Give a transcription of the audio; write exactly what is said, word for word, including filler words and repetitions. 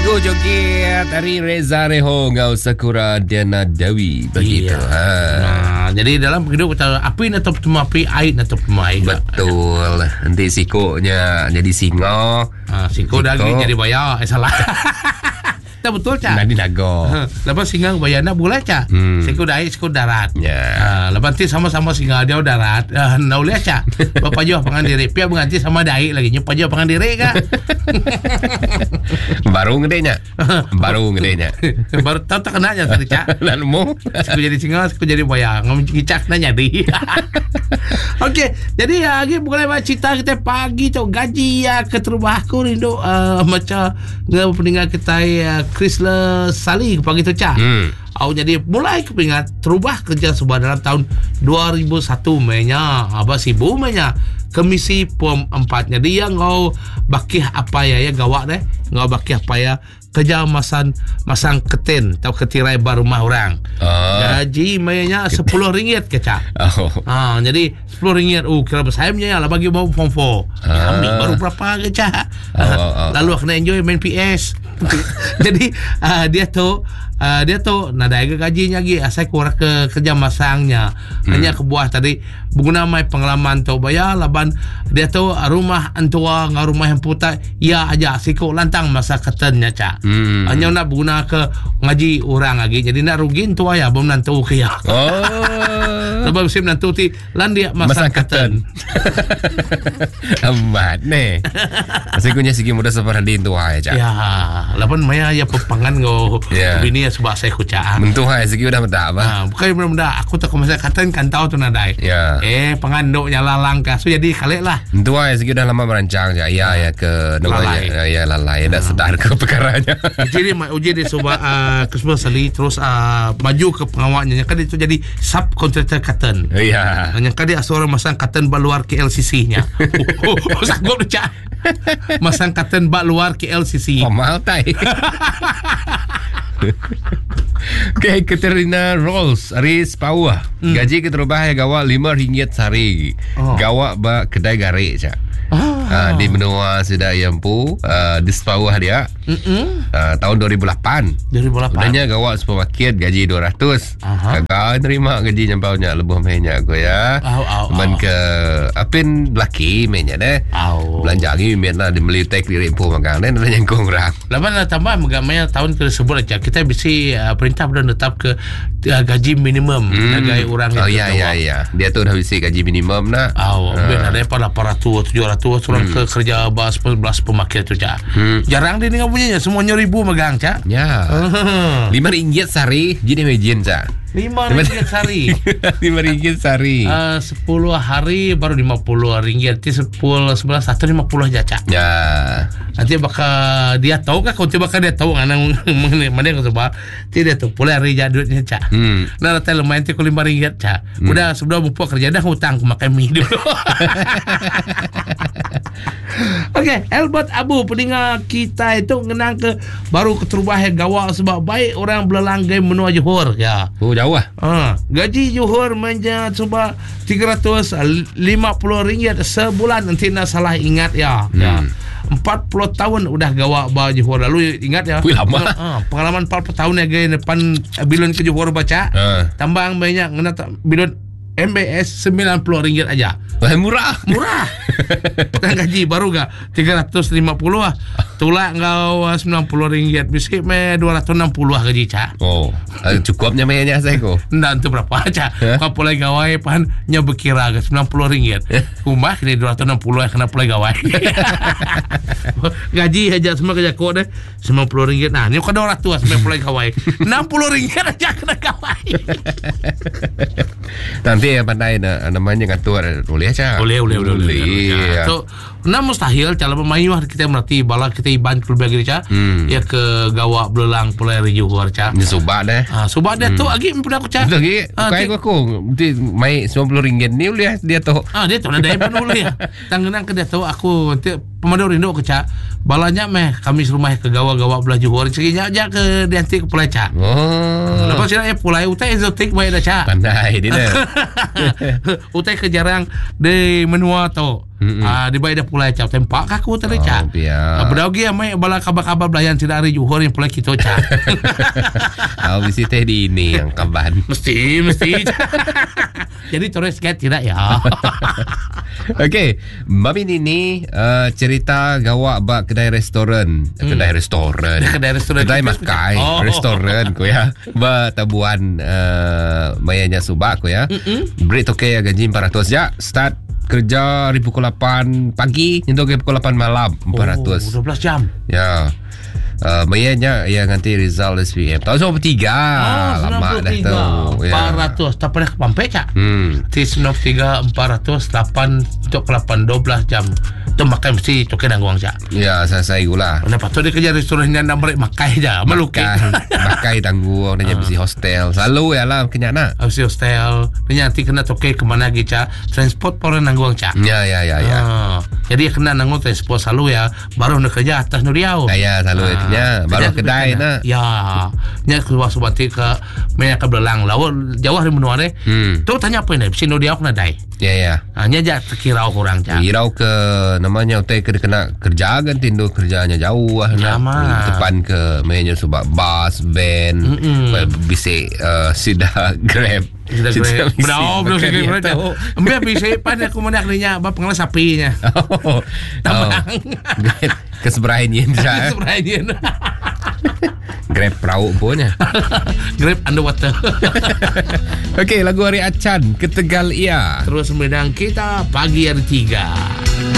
Lagu joget dari Reza Reho ngau Sakura Diana Dewi begitu. Iya. Ha. Nah, jadi dalam hidup kita api atau bertemu api, air atau bertemu air. Betul. Nanti sikonya jadi singa. Ha, siko dah lagi jadi bayar. Eh salah. Tak betul cak. Nanti naga. Ha, lepas singa bayar nak boleh cak. Hmm. Siko dah siko darat. Ya. Ha, lepas nanti sama-sama singa dia darat. Ha, nak boleh cak. Bapa jauh pangan diri. Pia berganti sama daik lagi. Nyopa jauh pangan diri kak. Baru ngedenya. Baru ngedenya. Baru tahu tak kena nya tadi cak. Lalu mu. Aku jadi singa, aku jadi bayang. Ngomong cicak nak jadi. Okey, jadi ya, lagi bukan lewat cerita kita pagi tu gaji ya ke terubah aku rindu uh, macam dengan pendengar kita uh, Chrysler Sali pagi tu cak. Hmm. Au jadi mulai kepingat terubah kerja sebuah dalam tahun dua ribu satu menya apa sibu menya komisi pom empat. Jadi yang ngau bakih apa ya ya gawak deh ngau bakih apa ya kerja masan masang keten atau ketirai bar rumah orang. Ah. Gaji mayanya sepuluh ringgit ke cak. Oh. Ha, jadi sepuluh ringgit oh kira besar punya lah bagi baru form four. Ah. Ambil baru berapa ke cak. Oh, oh, oh. Lalu kena enjoy main P S. Jadi uh, dia tu uh, dia tu nadai ke gajinya lagi asal kurang ke kerja masangnya. Hmm. Hanya kebuah tadi berguna mai pengalaman tu bayar laban dia tu rumah entua ngau rumah yang putar ya aja sikok lantang masa ketennya cak. Hmm. Hanya nak berguna ke ngaji orang lagi. Jadi nak rugi entua ya belum nantu ke ya. Oh. Sebab musim nantu ti lan dia Masang masang keten. keten. Amat ni. Asal kunya segi muda seperti entua ya cak. Ya, lapan maya ya pepangan ngau Ya. bini ya sebab saya kucak. Mentuh hai segi udah mentak apa? Ha, bukan benda-benda aku tak masa katan kan tahu tu nadai. Ya. Eh, penganduk nyala langkah. So jadi kalik lah. Mentuh hai segi udah lama merancang je. Ya ya ke Lalai. namanya ya lalai dah sedar ke perkaranya. Uji dia uji dia sebab uh, Kesuma Sali terus uh, maju ke pengawalnya. Kan itu jadi subkontraktor katan. Ya. Hanya kan dia seorang masang katan bak luar K L C C-nya. Oh, oh, sanggup dia cak. Masang katan bak luar K L C C. Oh, mahal tai. Okay, Katerina Rolls Aris Pauah. Hmm. Gaji keterubah ya gawak lima ringgit sehari. Oh. Gawak ba kedai garik cak. Ah. Ah, di benua sudah Yampu, uh, di Sepauah dia. Mm-mm. Uh, tahun dua ribu lapan. dua ribu lapan. Udahnya gawak supermarket gaji dua ratus. Aha. Gagal terima gaji nyampaunya lebih mainnya aku ya. Au, au, Man au. ke apin laki mainnya deh. Au. Belanja lagi mian lah dibeli tek diri pun makan deh dah nyangkung orang. Lapan lah tambah megamanya tahun tersebut aja kita bisa uh, perintah sudah tetap ke uh, gaji minimum hmm. sebagai orang Oh yang ya ya terjawab. ya. Dia tu dah bisi gaji minimum nak. Aw, uh. ben ada apa lapan ratus, tujuh ratus orang hmm. ke kerja bas belas pemakai tu cak. Hmm. Jarang dia dengan punya semuanya ribu megang cak. Ya. Lima ringgit sehari, jadi imagine cak. Lima ringgit sehari. Lima ringgit sehari. Uh, sepuluh hari baru lima puluh ringgit. Nanti sepuluh, sebelas, satu lima puluh aja cak. Ya. Nanti bakal dia tahu kan, kalau bakal dia tahu kan, mana yang sebab dia tahu pula hari jadi duitnya cak. Hmm. Nah, nanti lumayan nanti lima ringgit cak. Hmm. Udah sebelum bupuk kerja dah hutang aku makan mie dulu. Okey, Albert Abu pendengar kita itu ngenang ke baru keterubah yang gawak sebab baik orang belalanggai menua Johor ya. Oh jauh ah. Ha, gaji Johor manja sebab tiga ratus lima puluh ringgit sebulan nanti nak salah ingat ya. Hmm. Ya. empat puluh tahun udah gawak ba Johor lalu ingat ya. Wih, lama. Ha, pengalaman empat puluh tahun ya gaya depan bilon ke Johor baca. Ha. Tambang banyak ngena tak bilon M B S sembilan puluh ringgit aja. Wah, murah. Murah. Dan gaji baru gak tiga ratus lima puluh ah. Tulak kau sembilan puluh ringgit. Bisik me dua ratus enam puluh ah gaji cak. Oh, cukupnya mainnya saya ko. Ndak tu berapa cak. Eh? Kau pulai gawai pan nya berkira ke sembilan puluh ringgit. Rumah kena dua ratus enam puluh kena pulai gawai. Gaji aja semua kerja kok deh sembilan puluh ringgit. Nah, ni kau dua ratus sembilan pulai gawai. enam puluh ringgit aja kena gawai. Nanti yang pandai na, namanya ngatur boleh cak. Boleh, boleh, boleh. Boleh. boleh. So, nah mustahil cara pemain kita merati bala kita iban keluar lagi cak. Hmm. Ya ke gawak belelang pulai dari Johor cak. Ni subak deh. Ah, subak dia hmm. tu lagi pun aku cak. Betul lagi. Ah, Bukan aku aku dia mai sembilan puluh ringgit ni boleh dia tu. Ah, dia tu ada pun boleh. Tanggenang ke dia tu aku nanti pemandu rindu ke cak. Balanya meh kami serumah ke gawak-gawak belah Johor. Cerinya aja ke dia nanti ke pulai cak. Oh. Lepas sini ya pulai utai exotic baik dah cak. Pandai dia dah. Utai ke jarang di menua tu. Ah, dibai dah pulai cak tempak aku tadi cak. Oh, biar. Ah, bedau gi amai bala kabar-kabar belayan sida ari Johor yang pulai kita cak. Oh, mesti teh di ini yang kaban. Mesti, mesti. Jadi terus kan tidak ya. Okey, Mami Nini uh, cerita gawak bak kedai restoran. Hmm. Kedai restoran. Kedai restoran. Kedai makai. Oh. Restoran ku ya. Ba tabuan uh, mayanya subak ku ya. Beri toke ya gaji empat ratus ya. Start kerja dari pukul lapan pagi hingga ke pukul lapan malam empat ratus. Oh, dua belas jam. Ya. Uh, mayanya yang nanti result S P M. Tahun sembilan puluh tiga. Oh, lama dah tu. Ya. empat ratus. Tak pernah ke Pampek cak. Hmm. Ti sembilan puluh tiga empat ratus lapan untuk ke lapan dua belas jam. Tu makan mesti toke nanggung cak. Ya, saya saya gula. Mana patut dia kerja restoran yang nak beri makai je. Melukis. Makai, makai tanggung dia mesti hostel. Selalu ya lah kenyak nak. Mesti hostel. Dia nanti kena toke ke mana lagi cak. Transport pun nanggung cak. Ya ya ya ya. Ah, jadi kena nanggung transport selalu ya. Baru nak kerja atas nuriau. Ya, ya selalu ah, ya. Baru kedai nak. Ya. Nya keluar subati ke banyak ke belelang lawa jauh dari menua deh. Hmm. Tu tanya apa ni? Sino dia kena dai. Ya ya. Hanya jak terkira kurang cak. Kirau ke namanya utai ke kena kerja kan tindu kerjanya jauh lah nak. Depan ke mainnya sebab bas, van, bisik uh, sida Grab. Sida Grab. Berau belum sida Grab. Ambil bisik pan aku mana kena bab pengalas sapinya. Oh. Grab ke seberai ni. Ke seberai ni. Grab perahu punya. Grab underwater. Okey, lagu hari Acan Ketegal Ia. Terus mendang kita pagi hari tiga.